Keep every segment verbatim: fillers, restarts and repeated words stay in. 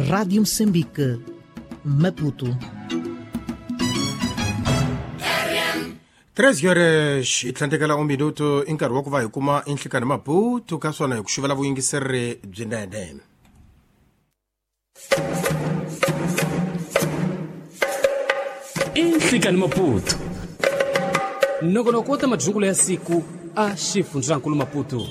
Rádio Moçambique, Maputo. treze horas e tlhandlekela un minuto i nkarhi wa ku va hi kuma inhlikani Maputo ka swona hi ku xuvela vuyingiseri byinene. Inhlikani Maputo nongonoko wa ta madyungulo ya siku a xifundzankulu Maputo.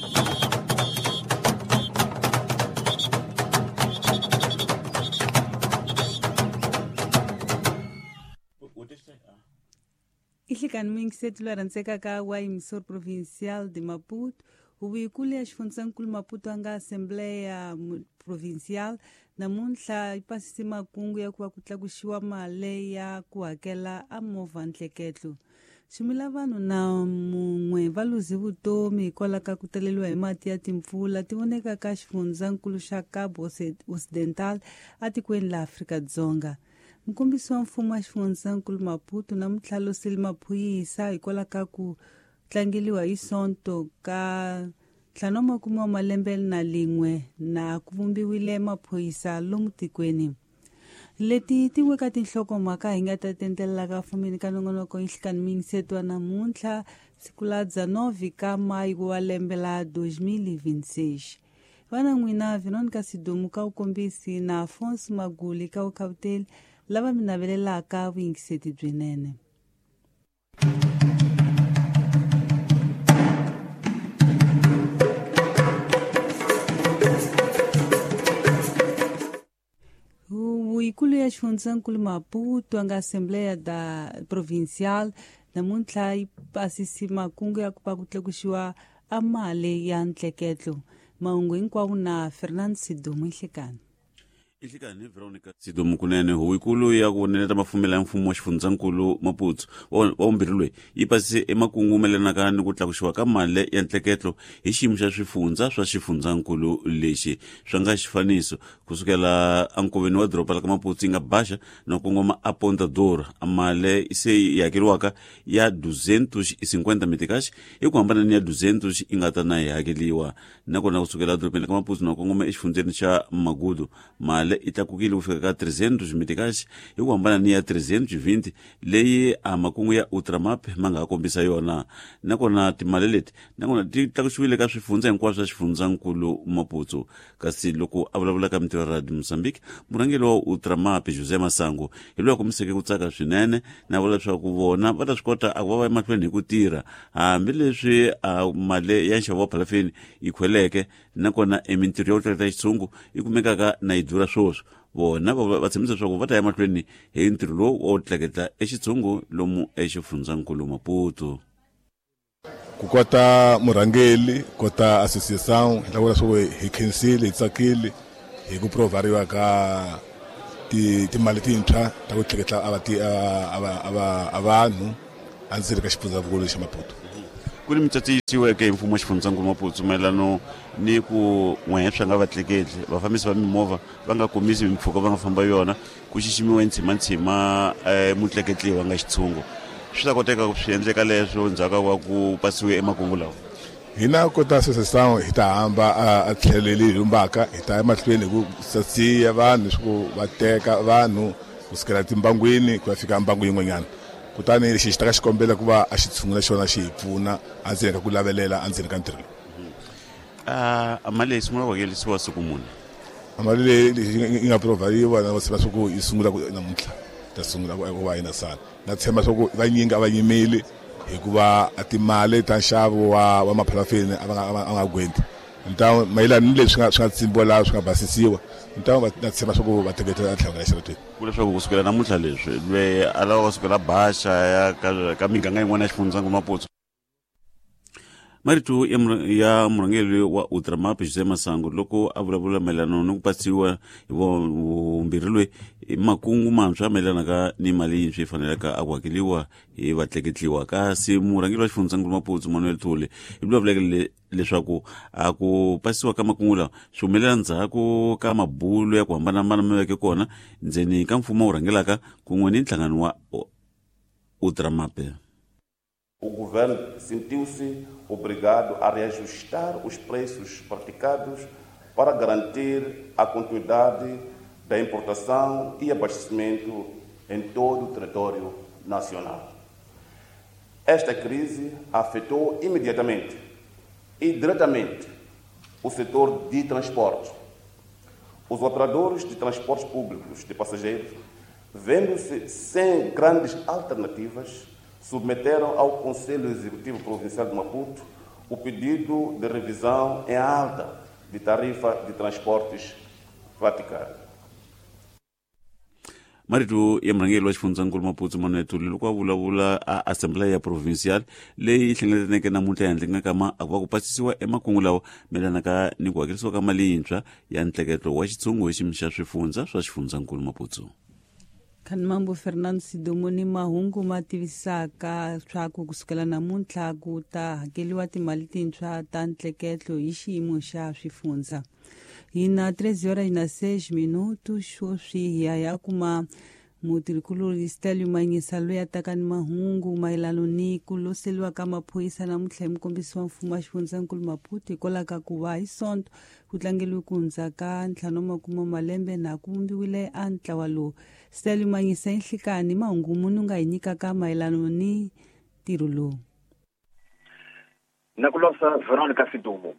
Ihlikani muyingiseti loyi a rhandzekaka wa emissor provincial de Maputo, huvo ya xifundzankulu Maputo a nga Assembleia Provincial namuntlha yi pasise makungu ya ku va ku tlakuxiwa mali ya ku hakela a movha ntleketlo. Ximila vanhu na mun'we va luze vutomi hikwalaho ka ku taleriwa hi mati ya timpfula ti voneka ka xifundzankulu xa Cabo Ocidental etikweni la Afrika-Dzonga. Mukombisi wa mfumo wa xifundzankulu Maputo namuntlha losile maphorisa hikwalaho ka ku tlangeliwa hi Sonto ka ntlhanu wa makume wa malembe na lin'we na ku vumbiwile maphorisa lomu tikweni. Leti tin'we ka tinhlokomhaka hi nga ta tendlela ka fumini ka nongonoko inhlikani muyingiseti wa namuntlha siku la dezenove ka mayi wa lembe la dois mil e vinte e seis. Vana n'wina Veronica Sidumu ka vukombisi na Afonso Maguli ka vukhawuteli lava mi navelelaka vuyingiseti byinene. Huvo ya xifundzankulu Maputo a nga Assembleia da Provincial namuntlha yi pasise makungu ya ku va ku tlakuxiwa a mali ya ntleketlo. Mahungu hinkwawo na Fernando Sidumu. Inhlikani. Inhlikani Veronica Sidumu kunene. Huvo ya ku voneleta mafumelo ya mfumo wa xifundzankulu Maputo wa vumbirhi loyi yi pasise emakungu mayelanaka ni ku tlakuxiwa ka mali ya ntleketlo hi xiyimo xa swifundza swa xifundzankulu lexi swa nga xifaniso kusukela enkoveni wa doroba la ka Maputo yi nga Baxa na kongoma a Ponta Dora. Mali se yi hakeriwaka ya duzentos e cinquenta meticais hi ku hambana ni ya duzentos yi nga ta na yi hakeriwa. Nakona kusukela edorobeni la ka Maputo na kongoma exifundzeni xa Magudu mali yi tlakukile ku fika ka trezentos meticais hi ku hambana ni ya trezentos e vinte leyi a makungu ya Ultramap ma nga ha kombisa yona. Nakona timali leti nakona ti tlakusiwile ka swifundza hinkwaswo swa xifundzankulu Maputo. Kasi loko a vulavula ka mintirho ya Radio Mozambique, murhangeri wa Ultramap José Masango hi loyi a kombiseke ku tsaka swinene na vula leswaku vona va ta swi kota a ku va va emahlweni hi ku tirha hambileswi a mali ya nxavo wa phalafeni yi khweleke, nakona emintirho ya ku tleketla xitshungu yi kumekaka na yi durha swoswo. Vona va tshembisa leswaku va ta ya mahlweni hi ntirho lowu wa ku tleketla exitshungu lomu exifundzankulu Maputo. Ku kota murhangeri kota association hi lava leswaku hi khensile hi tsakile hi ku provariwa ka ti timali tintshwa ta ku tleketla a va a vanhu endzeni ka xifundzankulu xa Maputo. Ku ni mitsatsi yisiweke hi mfumo wa xifundzankulu Maputo mayelano ni ku n'wehe swa nga vatleketli vafambisi va mimovha va nga komisi mimpfhuka va nga famba yona ku xiximiwa ntshimantshima mutleketli wa nga xitshungu. Swi ta koteka ku swi endleka leswo ndzhaku wa ku pasiwe emakungu lawa? Hina kota association hi ta hamba a tlheleli hi lumbaka hi ta emahlweni hi ku sasiya vanhu leswaku va teka vanhu kusukela timbangwini ku ya fika mbangu yin'wanyana. Kutani lexi xi ta ka xikombela ku va a xi tshungula xona xi hi pfuna endzeni ka ku lavelela endzeni ka ntirho lowu. A mali leyi sungula ku hakelisiwa siku muni? Mali leyi yi nga provhariwa na va swa ku yi sungula ku namuntlha ta sungula ku va yi na sala. Na tshemba swa ku vanyingi a va yimeli hikuva a timali ta nxavo wa wa maphalafeni a va nga a nga gwenti. Ntawo mayelana ni leswi nga swi nga tsimbiwa laha swi nga basisiwa ntawo na tshemba swa ku va teketela tlhelo ra xirhotweni. Ku leswaku kusukela namuntlha leswi lweyi a lava kusukela Baxa ya ka ka miganga yin'wana ya xifundzankulu Maputo. Marito ya murhangeri wa Ultramap José Masango loko a vulavula mayelana ni ku pasiwa hi vumbirhi loyi hi makungu mantshwa mayelanaka ni mali yintshwa yi fanelaka a ku hakeriwa hi vatleketliwa. Kasi murhangeri wa xifundzankulu Maputo Manuel Thole hi vulavuleke leswaku a ku pasiwa ka makungu lawa swi humelela ndzhaku ka mabulo ya ku hambanahambana ma veke kona ndzeni ka mfumo wu rhangelaka kun'we ni nhlangano wa Ultramap. O governo sentiu-se obrigado a reajustar os preços praticados para garantir a continuidade da importação e abastecimento em todo o território nacional. Esta crise afetou imediatamente e diretamente o setor de transporte. Os operadores de transportes públicos de passageiros, vendo-se sem grandes alternativas, submeteram ao Conselho Executivo Provincial de Maputo o pedido de revisão em alta de tarifa de transportes praticada. Marito ya murhangeri wa xifundzankulu Maputo Manuel Thuli loko a vulavula a Assembleia Provincial leyi hlengeletaneke namuntlha ehandle ka ma a ku va ku pasisiwa emakungu lawa mayelanaka ni ku hakerisiwa ka mali yintshwa ya ntleketlo wa xitshungu hi xiyimo xa swifundza swa xifundzankulu Maputo. Khanimambo Fernando Sidomo ni mahungu ma tivisaka swa ku kusukela namuntlha ku ta hakeriwa timali tintshwa ta ntleketlo hi xiyimo xa swifundza. Hi na treze horas na seis minutos sweswi hi ya ya kuma mutirhikulori Stelio Manyisa loyi a taka ni mahungu mayelana ni ku loseliwa ka maphorisa namuntlha hi mukombisi wa mfumo wa xifundzankulu Maputo hikwalaho ka ku va hi Sonto ku tlangeriwe ku hundza ka ntlhanu wa makume malembe na ku vumbiwile a ntlawa lowu. Stelio Manyisa i nhlikani mahungu muni u nga hi nyikaka mayelana ni ntirho lowu? Na ku losa Veronica Sidumo.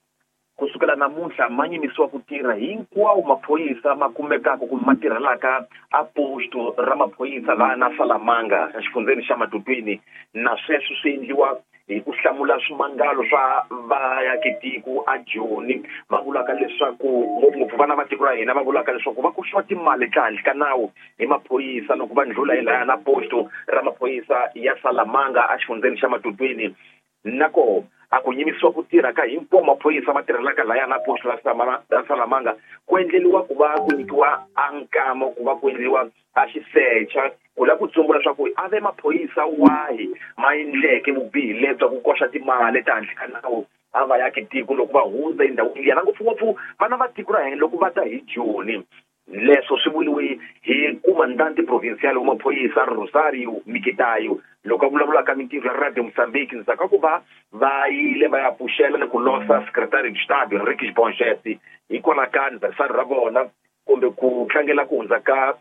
Kusukela namuntlha ma yimisiwa ku tirha hinkwawo maphorisa ma kumekaka kumbe ma tirhelaka a posto ra maphorisa laha na Salamanga exifundzeni xa Matutwini, na sweswo swi endliwa hi ku hlamula swimangalo swa vaakatiko a Joni va vulaka leswaku ngopfungopfu vana va tiko ra hina va vulaka leswaku va koxiwa timali ta handle ka nawu hi maphorisa loko va ndlhula hi laya na posto ra maphorisa ya Salamanga exifundzeni xa Matutwini. Nako a ku yimisiwa ku tirha ka hinkwawo maphorisa ma tirhelaka laya na posto ra Salamanga ku endleriwa ku va ku nyikiwa a nkamo ku va ku endliwa a xisecha ku lava ku tsumbula leswaku a ve maphorisa wahi ma endleke vubihi lebya ku koxa timali ta handle ka nawu a va yaki tiko loko va hundza endhawini liya, na ngopfungopfu vana va tiko ra hina loko va ta hi Joni. Leswo swi vuriwe hi comandante provincial wa maphorisa Rosario Mikitayo loko a vulavula ka mintirho ya Radio Mozambique ndzhaku ka ku va va yile va ya pfuxela ni ku losa secretary de Estado Henrique Bongesi hikwalaho ka anniversary ra vona kumbe ku tlangela ku hundza ka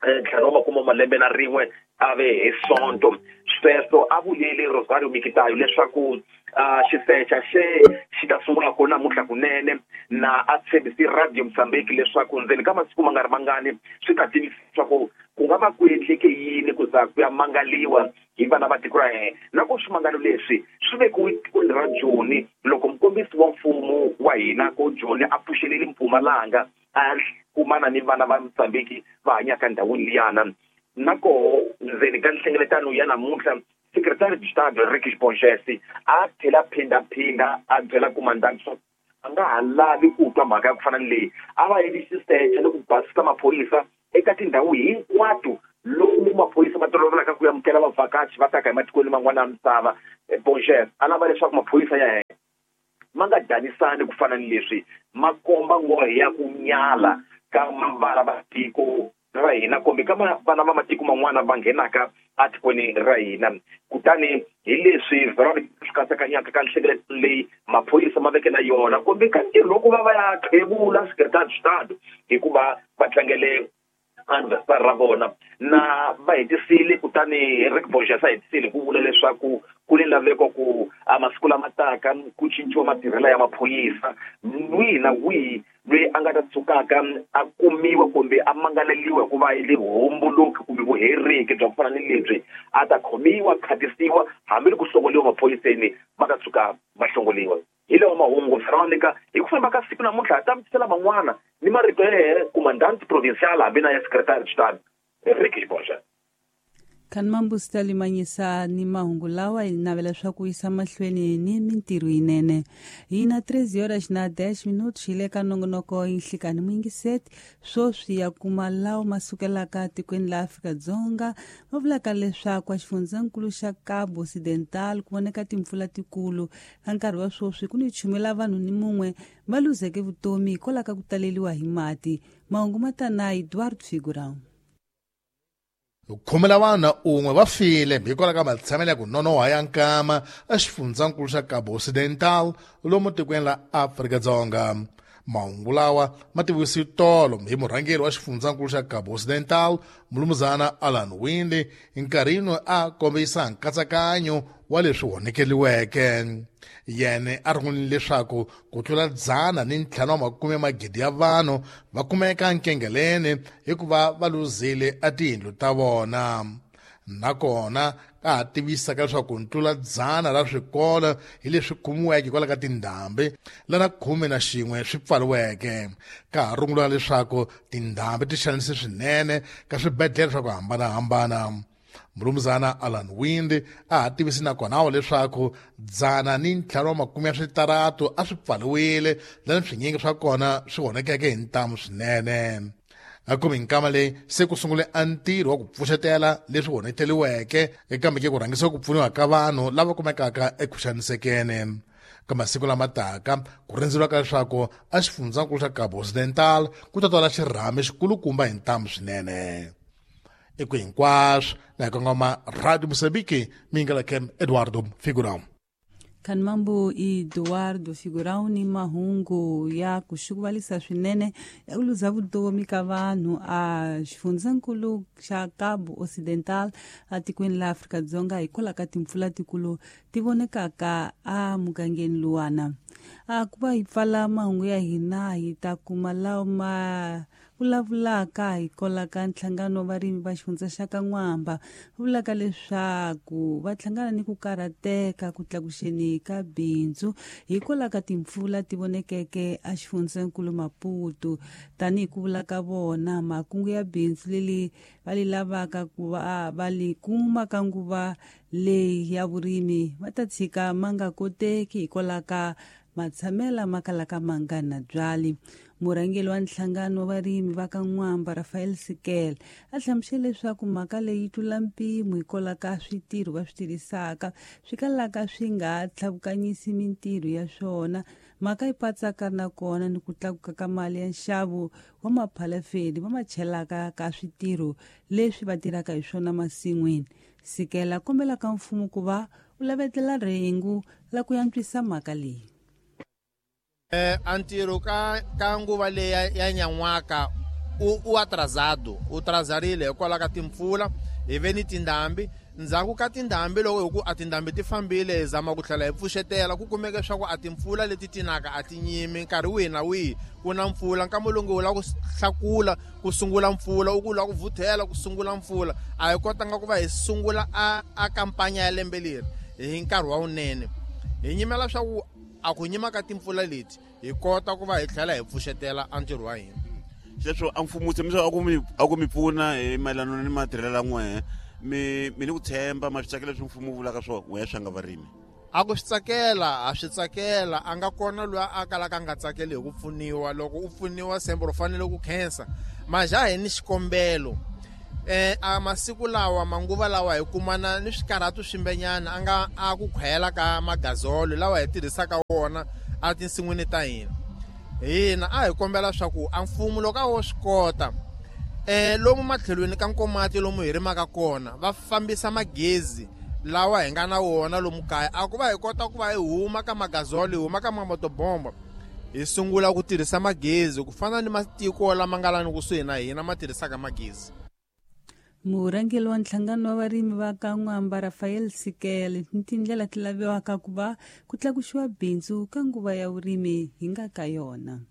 ntlhanu wa makume malembe na rin'we a ve hi Sonto. Sweswo a vuleli Rosario Mikitayo leswaku xisecha xe xi ta sungula kona namuntlha kunene, na a tshembisi Radio Mozambique leswaku ndzeni ka masiku ma nga ri mangani swi ta tivisa leswaku ku nga va ku endleke yini ku za ku ya mangaliwa hi vana va tiko ra hina. Na ku swimangalo leswi swi vekiwe tikweni ra Joni loko mukombisi wa mfumo wa hina ko Joni a pfuxelele Mpumalanga a kumana ni vana va Mozambique va hanyaka ndhawini liyana. Na koho ndzeni ka nhlengeletano ya namuntlha secretary de Estado Henrique Bongesi a tlhela phindaphinda a byela comandante swa a nga ha lavi ku twa mhaka ya ku fana ni leyi, a va endli xisecha ni ku basisa maphorisa eka tindhawu hinkwato lomu maphorisa ma tolovelaka ku amukela vavhakachi va taka hi matikweni man'wana ya misava. Bongesi a lava leswaku maphorisa ya hina ma nga danisani ku fana ni leswi, ma komba nghohe ya ku nyala ka vana va tiko ra hina kumbe ka vana va matiko man'wana va nghenaka etikweni ra hina. Kutani hi leswi Veronica swi katsakanyaka ka nhlengeletano leyi maphorisa ma veke na yona kumbe ka ntirho loko va va ya qhevula secretary de Estado hikuva va tlangele anniversary ra vona na va hetisile. Kutani Henrique Bongesi a hetisile ku vula leswaku ku ni laveko ku a masiku lama taka ku cinciwa matirhelo ya maphorisa, wihi na wihi loyi a nga ta tsukaka a kumiwa kumbe a mangaleriwa hi ku va endle vuhomboloki kumbe vuheriki bya ku fana ni lebyi a ta khomiwa, khatisiwa hambi ku hlongoliwa maphoriseni va ta tshuka va hlongoliwa. Hi lawa mahungu Veronica, hi ku famba ka siku namuntlha ha ta mi tisela man'wana ni marito ya yena comandante provincial hambi na ya secretary de Estado Henrique Bongesi. Khanimambo Stelio Manyisa ni mahungu lawa hi navela swa ku yisa mahlweni ni mintirho yinene. Hi na treze horas na dez minutos hi le ka nongonoko Nhlikani muyingiseti sweswi ya kuma lawa ma sukelaka tikweni la Afrika-Dzonga va vulaka leswaku a xifundzankulu xa Cabo Occidental ku voneka timpfula tikulu ka nkarhi wa sweswi ku ni chumela vanhu ni mun'we va luzeke vutomi hikwalaho ka ku taleriwa hi mati. Mahungu ma ta na Eduardo Figurão. Khume la vanhu un'we va file hikwalaho ka matshamelo ya ku nonoha ya nkama exifundzankulu xa Cabo Occidental lomu tikweni la Afrika-Dzonga. Mahungu lawa ma tivisiwe tolo hi murhangeri wa xifundzankulu xa Cabo Occidental Mulumuzana Alan Winde nkarhini a kombisa nkatsakanyo wa leswi honekeliweke. Yena a rungulile leswaku ku tlula dzana ni ntlhanu wa makume magidi ya vanhu va kumeka nkengeleni hikuva va luzile a tiyindlu ta vona. Nakona a ha tivisaka leswaku ntlula dzana ra swikolo hi leswi kumiweke hikwalaho ka tindhambi lana khume na xin'we swi pfariweke. Ka ha rungula leswaku tindhambi ti xanise swinene ka swibedhlele swa ku hambanahambana. Mulumuzana Alan Winde a ha tivisi nakona leswaku dzana ni ntlhanu wa makume ya switaratu a swi pfariwile lani swinyingi swa kona swi honekeke hi ntamu swinene. Akumi nkama leyi se ku sungule a ntirho wa ku pfuxetela leswi honeteliweke kambe ke ku rhangisa ku pfuniwa ka vanhu lava kumekaka eku xanisekeni. Ka masiku lama taka ku rindzeriwa ka leswaku a xifundzankulu xa Cabo Occidental ku ta twala xirhami xikulukumba hi ntamu swinene. Eku hinkwaswo na hi kongoma Radio Moçambique, mingala kem Eduardo Figurão. Kanmambo Eduardo Figurão ni mahungu ya kuxukuvalisa swinene ya ku luza vutomi ka vanhu a xifundzankulu xa Cabo Occidental a tikweni la Afrika-Dzonga hikwalaho ka timpfula tikulu ti vonekaka a mugangeni luwana. A ku va hi pfala mahungu ya hina hi ta kuma lawa ma vulavulaka hikwalaho ka nhlangano wa varimi va xifundza xa ka N'wamba vulaka leswaku va hlangana ni ku karhateka ku tlakuxeni ka bindzu hikwalaho ka timpfula ti vonekeke a xifundzankulu Maputo. Tanihi ku vula ka vona makungu ya bindzu leri va li lavaka ku va va li kuma ka nguva leyi ya vurimi va ta tshika ma nga koteki hikwalaho ka matshamela ma kalaka ma nga na byali. Murhangeri wa nhlangano wa varimi va ka N'wamba Rafael Sikele a hlamusele leswaku mhaka leyi yi tlula mpimo hikwalaho ka switirho va swi tirhisaka swi kalaka swi nga tlhavukanyisi mintirho ya swona. Mhaka yi patsaka nakona ni ku tlakuka ka mali ya nxavo wa maphalafeni va ma chelaka ka switirho leswi va tirhaka hi swona masin'wini. Sikele a kombela ka mfumo ku va wu lavetela rhengu la ku antswisa mhaka leyi. Eh, antirho ka ka nguva leyi ya nyan'waka u u atrasado u trazarile hikwalaho ka timpfula hi ve ni tindhambi. Ndzhaku ka tindhambi loko hi ku a tindhambi ti fambile hi zama ku tlhela hi pfuxetela ku kumeka leswaku a timpfula leti tinaka a ti nyimi nkarhi wihi na wihi ku na mpfula. Nkama lowu u lava ku hlakula ku sungula mpfula u ku lava ku vuthela ku sungula mpfula a hi kotanga ku va hi sungula a a kampanya ya lembe leri hi nkarhi wa wunene. Hi nyimela swa ku a ku nyima ka timpfula leti hi kota ku va hi tlhela hi pfuxetela a ntirho wa hina. Xeswo a mfumo tshembisa a ku mi a ku mi pfuna hi mayelana ni matirhelo ya n'wehe mi mi ni ku tshemba ma swi tsakela leswi mfumo wu vulaka swona n'wehe swa nga varimi? A ku swi tsakela a swi tsakela a nga kona loyi a kalaka a nga tsakeli hi ku pfuniwa. Loko u pfuniwa sembo ro fanele ku khensa maja hi ni xikombelo. Eh, a masiku lawa manguva lawa hi kumana ni swikarhatu swimbenyana a nga a ku khwela ka magazolo lawa hi tirhisaka wona a tinsin'wini ta hina. Hina a hi kombela swa ku a mfumo loko a wo swi kota eh lomu matlhelweni ka Nkomati lomu hi rimaka kona va fambisa magezi lawa hi nga na wona lomu kaya a ku va hi kota ku va hi huma ka magazolo hi huma ka mamotobomba hi sungula ku tirhisa magezi ku fana ni matiko lama nga lani kusuhi na hina ma tirhisaka magezi. Murhangeri wa nhlangano wa varimi va ka N'wamba Rafael Sikele ni tindlela ti laviwaka ku va ku tlakuxiwa bindzu ka nguva ya vurimi hi nga ka yona.